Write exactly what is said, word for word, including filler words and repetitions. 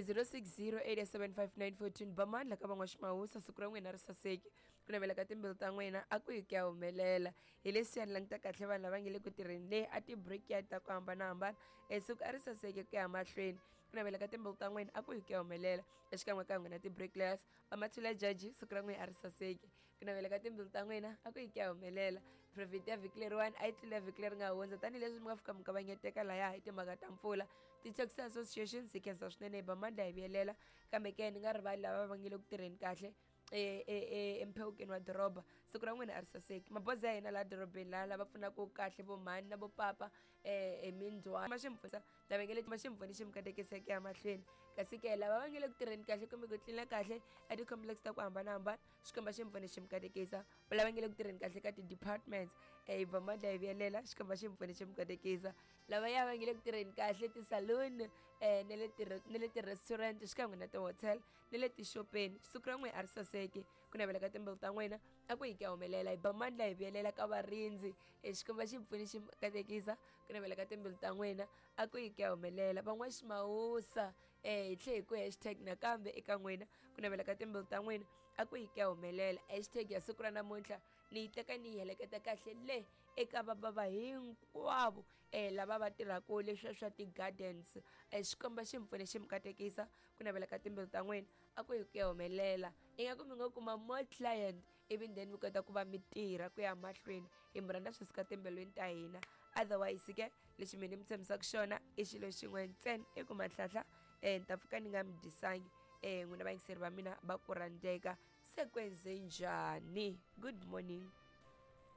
zero six zero eight seven five nine fourteen bamandla ka van'waximawusa siku ra n'wina ri saseki ku navela ka timbilu ta n'wina a ku yi ku ya humelela hi leswiya ni languta kahle vanhu lava nge le ku tirheni leyi a ti-brickyard ta ku hambanahambana e siku a ri saseki ku ya mahlweni ku navela ka timbilu ta n'wina a ku yi ku ya humelela exikan'we ka n'wina ti-bricklayers vamathula jaji siku ra n'wina a ri saseki ku navela ka timbilu ta n'wina a ku yi ku ya humelela profit ya vhiki leriwani a yi tlula vhiki leri nga hundza tanihileswi mi nga fika mi kavanyeteka laya hi timhaka ta mpfula ti-taxi associations hi khensa swinene hi ba mandla hi vuyelela kambe ke ni nga rivali lava va nge le ku tirheni kahle emphewukeni wa doroba siku ra n'wina a ri saseki mabazi ya hina laha dorobeni laha lava pfunaka kahle vo mhani na vo papa um hi mindzhwalo ma xi mpfuna lava nge le ma xi mpfuni xi mi katekiseke ya mahlweni kasi ke lava va nge le ku tirheni kahle kumbe ku tlina kahle a ti-complex ta ku hambanahambana xikomba xi mpfuni xi mi katekisa lava nge le ku tirheni kahle ka ti-departments um hi ba mandla hi vuyelela xikomba xi mpfuni xi mi katekisa lava ya va nge le ku tirheni kahle ti-saloon um na le na le ti-restaurant xikan'we na ti-hotel na le tixopeni siku ra n'wina a ri saseki ku navela ka timbilu ta n'wina a ku yi ku ya humelela hi ba mandla hi vuyelela ka varindzi xikomba xi pfuni xi katekisa ku navela ka timbilu ta n'wina a ku yi ku ya humelela van'waximawusa um hi tlhe hi ku hashtag nakambe eka n'wina ku navela ka timbilu ta n'wina a ku yi ku ya humelela hashtag ya siku ra namuntlha ni yi teka ni yi heleketa kahle le eka vabava hinkwavo um lava va tirhaka leswiya swa ti-gardens um xikomba xi mi pfune xi mi katekisa ku navela ka timbilu ta n'wina a ku yi ku ya humelela ingaku mi nga kuma more client ivi then mi kota ku va mi tirha ku ya mahlweni hi mi rhandza swi suka timbilwini ta hina otherwise ke lexi mina ni mi tshembisaka xona i xilo xin'we ntsena i ku mahlahla um ni ta pfuka ni nga mi dyisangi um n'wina vayingiseri va mina va ku rhandzeka se kwenze njhani good morning.